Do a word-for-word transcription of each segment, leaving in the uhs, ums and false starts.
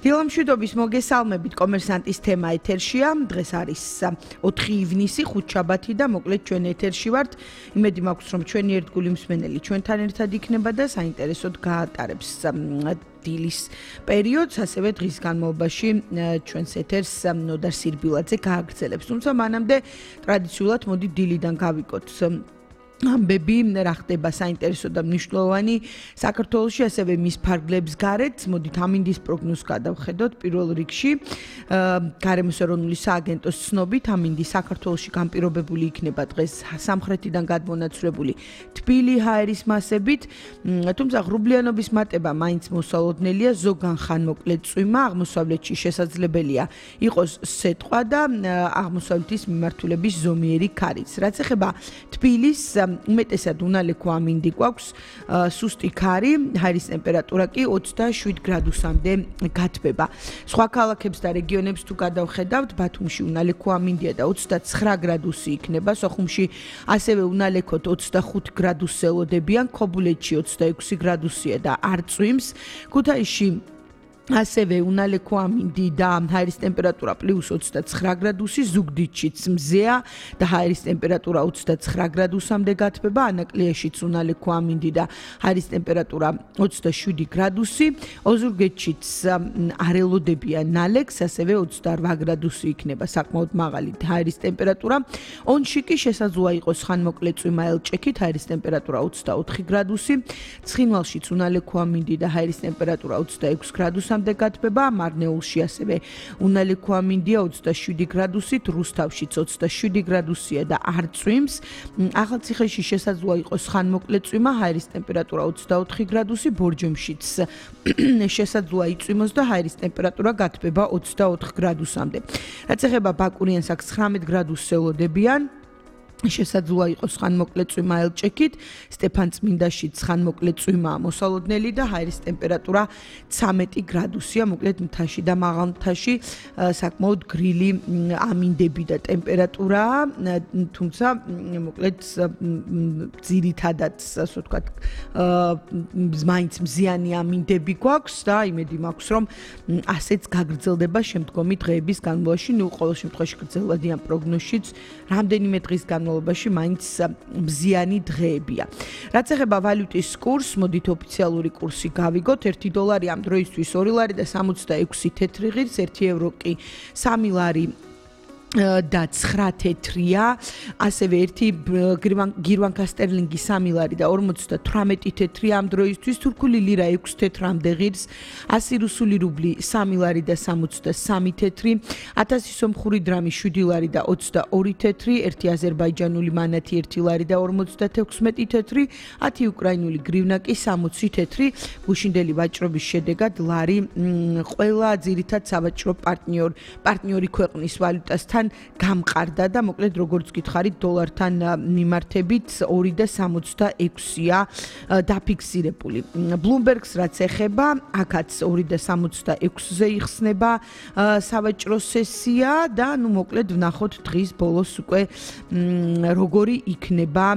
დილამშვიდობის მოგესალმებით, კომერსანტის თემა ეთერშია. დღეს არის ოთხი ივნისი, ხუთშაბათი და მოკლედ ჩვენ ეთერში ვართ. იმედი მაქვს, რომ ჩვენი ერთგული მსმენელი ჩვენთან ერთად იქნება და საინტერესოდ გაატარებს დილის პერიოდს, ასევე დღის განმავლობაში ჩვენს ეთერს ნოდარ სირბილაძე გააგრძელებს. თუმცა მანამდე ტრადიციულად მოდი დილიდან გავიკოთ ამბები, რა ხდება საინტერესო და მნიშვნელოვანი საქართველოში, ასევე მის ფარგლებს გარეთ. მოდით ამინდის პროგნოზს გადავხედოთ. პირველ რიგში გარემოს ეროვნული სააგენტოს ცნობით ამინდი საქართველოში განპირობებული იქნება დღეს სამხრეთიდან გადმონაცვლებული თბილი ჰაერის მასებით, თუმცა ღრუბლიანობის მატება მაინც მოსალოდნელია, ზოგან ხან მოკლედ წვიმა, აღმოსავლეთში შესაძლებელია იყოს სეტყვა და აღმოსავლეთის მიმართულების ზომიერი ქარიც. რაც ეხება თბილის უმეტესად უნალექო ამინდი გვაქვს, სუსტი ქარი, ჰაერის ტემპერატურა კი ოცდაშვიდ გრადუსამდე გათბება. სხვა ქალაქებს და რეგიონებს თუ გადავხედავთ, ბათუმში უნალექო ამინდია და ოცდაცხრა გრადუსი იქნება, სოხუმში ასევე უნალექოდ ოცდახუთ გრადუსს ელოდებიან, ქობულეთში ოცდაექვსი გრადუსია და არ წვიმს, ქუთაისში ასევე უნალექო ამინდი და ჰაერის ტემპერატურა პლუს ოცდაცხრა გრადუსი, ზუგდიდშიც მზეა და ჰაერის ტემპერატურა ოცდაცხრა გრადუსამდე გათბება, ანაკლიაშიც უნალექო ამინდი და ჰაერის ტემპერატურა ოცდაშვიდი გრადუსი, ოზურგეთშიც არ ელოდებიან ნალექს, ასევე ოცდარვა გრადუსი იქნება საკმაოდ მაღალი ჰაერის ტემპერატურა. ონში კი შესაძლოა იყოს ხანმოკლე წვიმა ელჭექით, ჰაერის ტემპერატურა ოცდაოთხი გრადუსი, ცხინვალშიც უნალექო ამინდი და ჰაერის ტემპერატურა ოცდაექვსი გრადუსი გათბება, მარნეულში ასევე უნალექო ამინდია ოცდაშვიდი გრადუსით, რუსთავშიც ოცდაშვიდი გრადუსია და არ წვიმს. ახალციხეში შესაძლოა იყოს ხანმოკლე წვიმა, ჰაერის ტემპერატურა ოცდაოთხი გრადუსი, ბორჯომშიც შესაძლოა იწვიმოს და ჰაერის ტემპერატურა გათბება ოცდაოთხ გრადუსამდე. რაც ეხება ბაკურიანსაკს ცხრამეტ გრადუსს ელოდებიან. შესაძლოა იყოს ხანმოკლე წვიმა ელჭექით, სტეფანწმინდაშიც ხანმოკლე წვიმაა მოსალოდნელი და ჰაერის ტემპერატურა ცამეტი გრადუსია, მოკლედ მთაში და მაღალ მთაში საკმაოდ გრილი ამინდები და ტემპერატურაა, თუმცა მოკლედ ძირითადად, ასე ვთქვათ, მაინც მზიანი ამინდები გვაქვს და იმედი მაქვს, რომ ასეც გაგრძელდება შემდგომი დღეების განმავლობაში, ნუ ყოველ შემთხვევაში გრძელვადიან პროგნოზშიც რამდენიმე დღის განმავლობაში მაინც მზიანი დღეებია. რაც ეხება ვალუტის კურსს, მოდით ოფიციალური კურსი გავიგოთ. ერთი დოლარი ამ დროისთვის ორი ლარი და სამოცდაექვსი თეთრი ღირს, ერთი ევრო კი სამი ლარი და ცხრა თეთრია, ასევე ერთი გირვანკა სტერლინგი სამი ლარი და ორმოცდათვრამეტი თეთრია ამ დროისთვის, თურქული ლირა ექვსი თეთრამდე ღირს, ასი რუსული რუბლი სამი ლარი და სამოცდასამი თეთრი, ათასი სომხური დრამი შვიდი ლარი და ოცდაორი თეთრი, ერთი აზერბაიჯანული მანათი ერთი ლარი და ორმოცდათექვსმეტი თეთრი, ათი უკრაინული გრივნა კი სამოცი თეთრი. გუშინდელი ვაჭრობის შედეგად ლარი ყველა ძირითად სავაჭრო პარტნიორ პარტნიორი ქვეყნის ვალუტასთან გამყარდა და მოკლედ როგორც გითხარით დოლართან მიმართებით ორი და სამოცდაექვსია დაფიქსირებული. Bloomberg-ს რაც ეხება, აქაც ორი და სამოცდაექვსზე იხსნება სავაჭრო სესია და ნუ მოკლედ ვნახოთ დღის ბოლოს უკვე როგორი იქნება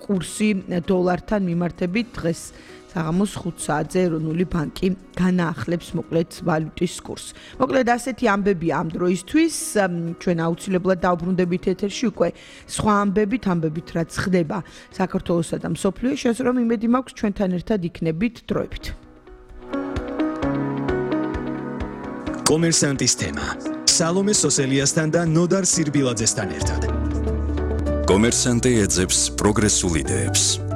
კურსი დოლართან მიმართებით. დღეს საღამოს ხუთ საათზე ეროვნული ბანკი განაახლებს მოკლედ ვალუტის კურსს. მოკლედ ასეთი ამბებია ამ დროისთვის, ჩვენ აუცილებლად დავბრუნდებით ეთერში უკვე სხვა ამბებით, ამბებით რაც ხდება საქართველოსა და მსოფლიოში, ასე რომ იმედი მაქვს ჩვენთან ერთად იქნებით დროებით. კომერსანტის თემა. სალომე სოსელიასთან და ნოდარ სირბილაძესთან ერთად. კომერსანტი ეძებს პროგრესულ იდეებს.